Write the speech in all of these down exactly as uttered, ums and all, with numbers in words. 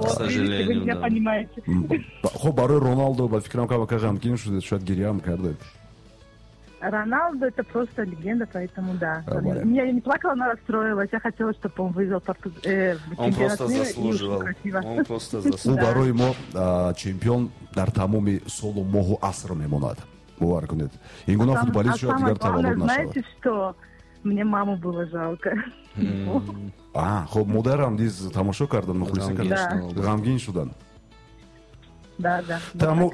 Вот, видите, вы меня понимаете. Хуб, барои Роналдо ба фикрам камака ғамгин шудед, шояд гиряам кардед. Роналдо это просто легенда, поэтому да. Я не плакала, но расстроилась. Я хотела, чтобы он выиграл Португ... э, Он просто заслуживал. Он просто заслуживал. Ӯ барои мо чемпион дар тамоми солу моҳу аср мемонад. Бовар кунед. Ин гуна футболист шояд дигар таваллуд нашавад. Знаете что? Мне маму было жалко. А, хуб, модарам низ тамошо кардан, мухлисӣ кардан. Ғамгин шуданд. Да, да.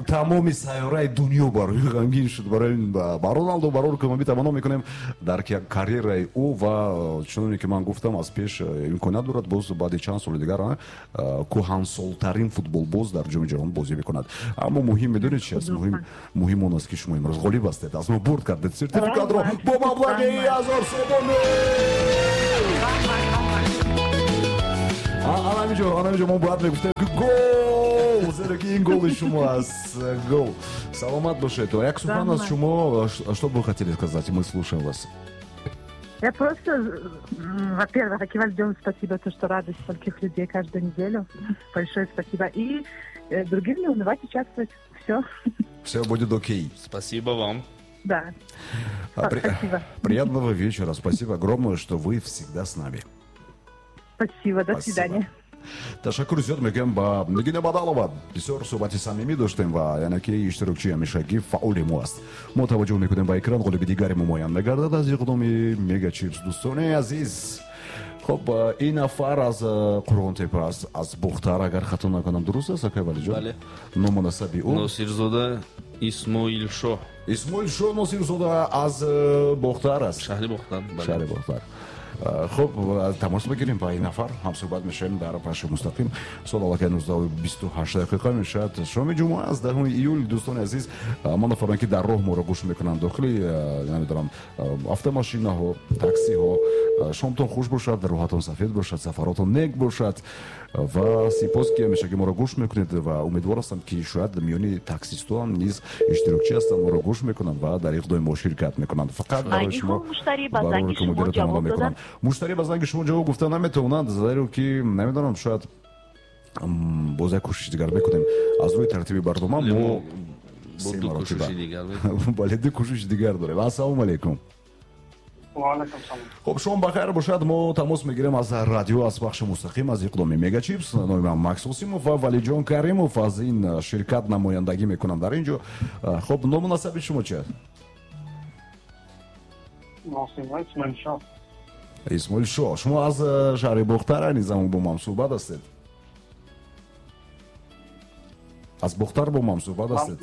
Тамоми сайёраи дунё барои ғамгин шуд. Барои ба Роналдо барор кӯмаби таманно мекунем дар карьераи ӯ ва чуноне ки ман гуфтам аз пеш имконият дорад боз баъди чанд соли дигар кӯҳансолтарин футболбоз дар ҷоми ҷаҳон бозӣ мекунад. Аммо муҳим медонед чи аст? Муҳим муҳим он аст ки шумо имрӯз ғолиб ҳастед, аз мо бурд кардед сертификатро бо маблағи ҳазор сомонӣ. Анамиҷо, анамиҷо мо бояд мегуфтем ки гол, зеро ки ин голи шумо аст. Гол. Саломат бошед. Як сухан аз шумо, что бы вы хотели сказать? Мы слушаем вас. Я просто, во-первых, Акиваль, спасибо, то, что радует стольких людей каждую неделю. Большое спасибо. И другим не унывать, участвовать. Все. Все будет окей. Спасибо вам. Да. При... Спасибо. Приятного вечера. Спасибо огромное, что вы всегда с нами. Спасибо, до свидания. Ташаккур зиёд мегӯям ба Нигина Бадалова. Бисёр суҳбати самимӣ доштем ва яъне ки иштирокчии ҳамешагӣ фаъоли мо аст. Мо таваҷҷӯҳ мекунем ба экран, ғолиби дигари мо муайян мегардад аз иқдоми Мегачипс. Дӯстони азиз, хуб, ин нафар аз Қурғонтепа аст, аз Бохтар, агар хато накунам, дуруст аст, акай Валиҷон? Бале. Ному насаби ӯ? Носирзода Исмоилшоҳ. Исмоилшоҳ Носирзода аз Бохтар аст. Шаҳри Бохтар. Шаҳри Бохтар. Хуб, тамос бигирем ба ин нафар, ҳамсӯҳбат мешавем дар пахши мустақим. Сол аллакай нуздаҳу бисту ҳашт дақиқа мешавад. Шоми ҷумъа аст, даҳуми июл. Дӯстони азиз, мо нафароне ки дар роҳ моро гӯш мекунанд, дохили намедонам автомошинаҳо, таксиҳо, шомтон хуш бошад, рӯҳатон сафед бошад, сафаротон нек бошад ва сипос ки ҳамешагӣ моро гӯш мекунед ва умедвор ҳастам ки шояд миёни таксистҳоам низ иштирокчӣ ҳастанд, моро гӯш мекунанд ва дар иқдоми мо ширкат мекунанд. Фақат барои шумо барои мудира тамано мекунам. Муштарӣ ба занги шумо ҷавоб гуфта наметавонанд, зеро ки намедонам, шояд боз як кӯшиши дигар мекунем. Аз рӯи тартиби барнома мо се маротиба бале, ду кӯшиши дигар дорем. Ассалому алайкум. Хуб, шом бахайр бошад. Мо тамос мегирем аз радио, аз пахши мустақим аз иқдоми Мегачипс. Номи ман Макс Осимов ва Валиҷон Каримов аз ин ширкат намояндагӣ мекунам дар ин ҷо. Хуб, ному насаби шумо чи аст? Исмоилшоҳ. Исмоилшоҳ, шумо аз шаҳри Бохтар айни замон бо ман суҳбат ҳастед? Аз Бохтар бо ман суҳбат ҳастед?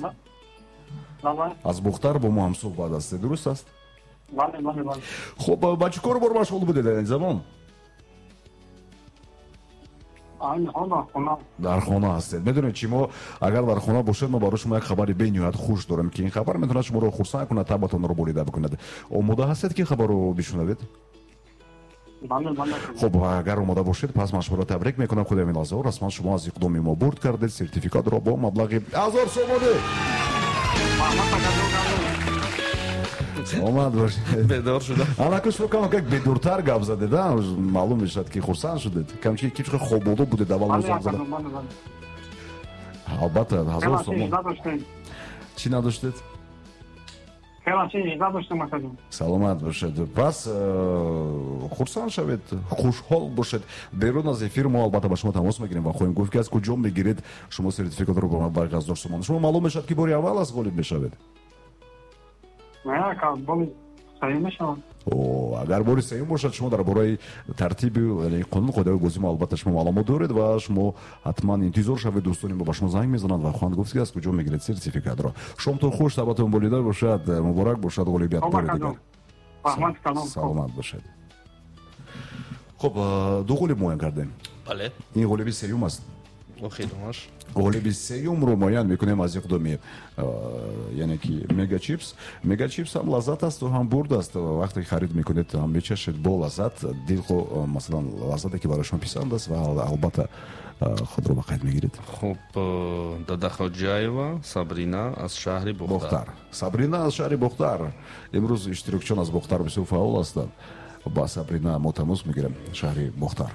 Аз Бохтар бо мо ҳамсуҳбат ҳастед, дуруст аст? Бале, бале, бале. Хуб, ба чӣ кору бор машғул будед айни замон? Дар хона ҳастед. Медонед чи, мо агар дар хона бошед, мо барои шумо як хабари бениҳоят хуш дорем, ки ин хабар метавонад шуморо хурсанд кунад, табатонро болида бикунад. Омода ҳастед ки хабарро бишунавед? Хуб, агар омода бошед, пас ман шуморо табрик мекунам. Худи ҳамин лаҳзаҳо расман шумо аз иқдоми мо бурд кардед сертификатро бо маблағи ҳазор сомонӣ. Саломат бошед. Бедор шудам. Анаку шумо кам как бедортар гап задед, а? Маълум мешавад ки хурсанд шудед. Камчи ки чӣ хоболу будед аввал мо занг задам. Албатта, ҳазор сомон. Чӣ надоштед? Саломат бошед. Пас хурсанд шавед, хушҳол бошед. Берун аз эфир мо албатта ба шумо тамос мегирем ва хоҳем гуфт ки аз куҷо мегиред шумо сертификатро бо маблағи ҳазор сомон. Шумо маълум мешавад ки бори аввал аст ғолиб мешавед? Агар бори сеюм бошад, шумо дар бораи тартиби қонун қоидаҳои бозӣ мо албатта шумо маълумот доред ва шумо ҳатман интизор шавед. Дӯстони мо ба шумо занг мезананд ва хоҳанд гуфт ки аз куҷо мегиред сертификатро. Шомтон хуш, табатон болида бошад, муборак бошад ғолибият бори дигар. Саломат бошед. Хуб, ду ғолиб муайян кардем. Бале. Ин ғолиби сеюм аст. Охиронаш. Ғолиби сеюмро муайян мекунем аз иқдоми, яъне ки Мегачипс. Мегачипс ҳам лаззат аст ва ҳам бурд аст. Вақте харид мекунед, ҳам мечашед бо лаззат, дилхо масалан лаззате ки барои шумо писанд аст ва албатта худро ба қайд мегиред. Хуб, Дадаходжаева Сабрина аз шаҳри Бохтар. Сабрина аз шаҳри Бохтар. Имрӯз иштирокчиён аз Бохтар бисёр фаъол ҳастанд. Ба Сабрина мо тамос мегирем, шаҳри Бохтар.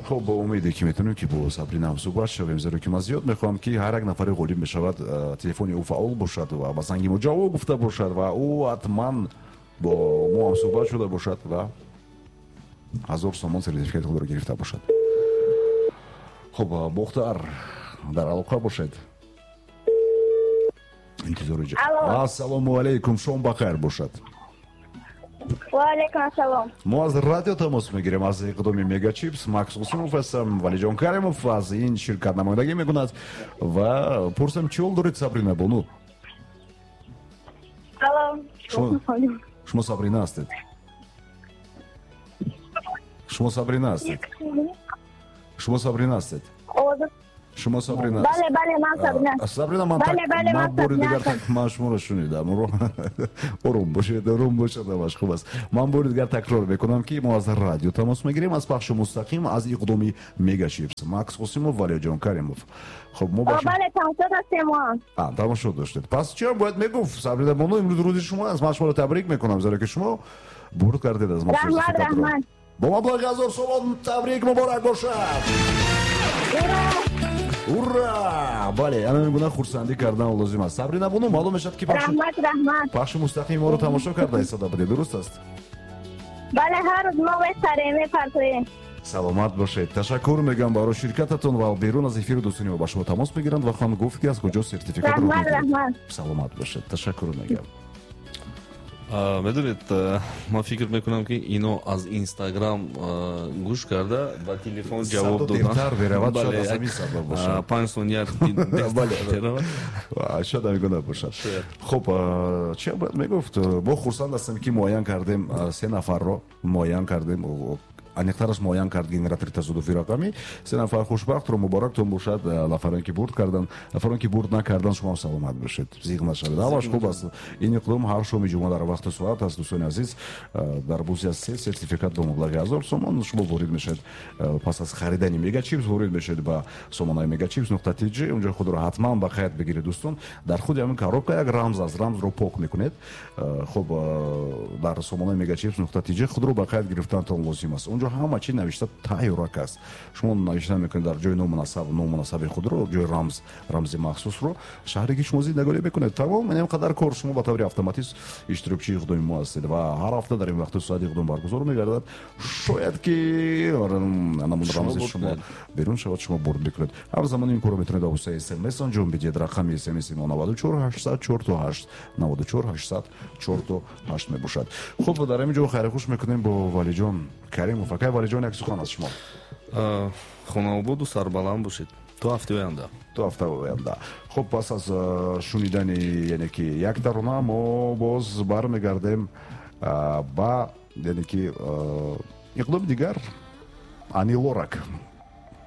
Хуб, бо умеде ки метавонем ки бо Сабрина ҳамсӯҳбат шавем, зеро ки ман зиёд мехоҳам ки ҳар як нафаре ғолиб мешавад, телефони ӯ фаъол бошад ва ба занги мо ҷавоб гуфта бошад ва ӯ ҳатман бо мо ҳамсӯҳбат шуда бошад ва ҳазор сомон сертификати худро гирифта бошад. Хуб, Бохтар, дар алоқа бошед. Интизори ҷо. Ассалому алайкум, шом бахайр бошад. Ва алайкум ассалом. Мо аз радио тамос мегирем, аз иқдоми Мегачипс. Макс Қосимов ҳастам, Валиҷон Каримов аз ин ширкат намояндагӣ мекунад ва пурсам, чӣ ҳол доред, Сабрина бону? Алло. Шумо Сабрина ҳастед? Шумо Сабрина ҳастед? Шумо Сабрина ҳастед? Шумо Сабрина? Бале, бале, ман Сабрина. Сабрина, ман ман бори дигар ман шуморо шунидам. Ором бошед, ором бошед, ҳамаш хуб аст. Ман бори дигар такрор мекунам, ки мо аз радио тамос мегирем, аз пахши мустақим аз иқдоми Мегачипс. Макс Қосимов, Валиҷон Каримов. Хуб, мо бале, тамошо доштем мо. А, тамошо доштед. Пас чӣ бояд мегуфт? Сабрина бону, имрӯз рӯзи шумо аст. Ман шуморо табрик мекунам, зеро ки шумо бурд кардед аз мо. Раҳмат, раҳмат. Бо маблағи ҳазор сомон табрик муборак бошад. Ура! Бале, ана гуна хурсандӣ кардан лозим аст. Сабрина бону, маълум мешавад ки раҳмат, раҳмат. Пахши мустақими моро тамошо карда истода будед, дуруст аст? Бале, ҳар рӯз мо месарем, мепартоем. Саломат бошед. Ташаккур мегӯям барои ширкататон ва берун аз эфири дӯстони мо ба шумо тамос мегиранд ва хоҳанд гуфт ки аз куҷо сертификатро раҳмат, раҳмат. Саломат бошед. Ташаккур мегӯям. Медонед, ман фикр мекунам, ки ино аз Инстаграм гӯш карда ба телефон ҷавоб додан. Дертар меравад, шояд аз ҳамин сабаб бошад. Панҷ сония меравад. Шояд ҳамин гуна бошад. Хуб, чӣ бояд мегуфт? Мо хурсанд ҳастем, ки муайян кардем се нафарро, муайян кардем, аниқтараш муайян кард генератори тасодуфи рақамӣ. Се нафар хушбахтро муборактон бошад. Нафароне ки бурд карданд, нафароне ки бурд накарданд, шумо саломат бошед, зиқ нашавед. Ҳамаш хуб аст. Ин иқдом ҳар шоми ҷумъа дар вақту соат аст, дӯстони азиз. Дар бозӣ аз се сертификат бо маблағи ҳазор сомон шумо ворид мешавед. Пас аз харидани Мегачипс ворид мешавед ба сомонаи мегачипс нуқта тж. Унҷо худро ҳатман ба қайд бигиред, дӯстон. Дар худи ҳамин коробка як рамз аст, рамзро пок мекунед. Хуб, дар сомонаи мегачипс нуқта тж худро ба қайд гирифтантон лозим аст. Унҷо ҳама чи навишта тайёрак аст. Шумо навишта мекунед дар ҷои номунасаб, номунасаби худро, ҷои рамз, рамзи махсусро, шаҳре ки шумо зиндагонӣ мекунед. Тамом, ин қадар кор. Шумо ба таври автоматист иштирокчии иқдоми мо ҳастед ва ҳар ҳафта дар ин вақту соат иқдом баргузор мегардад. Шояд ки намун рамзи шумо берун шавад, шумо бурд мекунед. Ҳамзамон ин корро метавонед ба воситаи смс анҷом бидиҳед. Рақами смс мо наваду чор ҳаштсад чор то ҳашт, наваду чор ҳаштсад чор то ҳашт мебошад. Хуб, дар ҳамин ҷо хайрхуш мекунем бо Валиҷон Каримов. Акай Валиҷон, як сухан аз шумо. Хонаободу сарбаланд бошед. То ҳафтаи оянда. То ҳафтаи оянда. Хуб, пас аз шунидани яъне ки як тарона мо боз бармегардем ба яъне ки иқдоми дигар. Ани Лорак.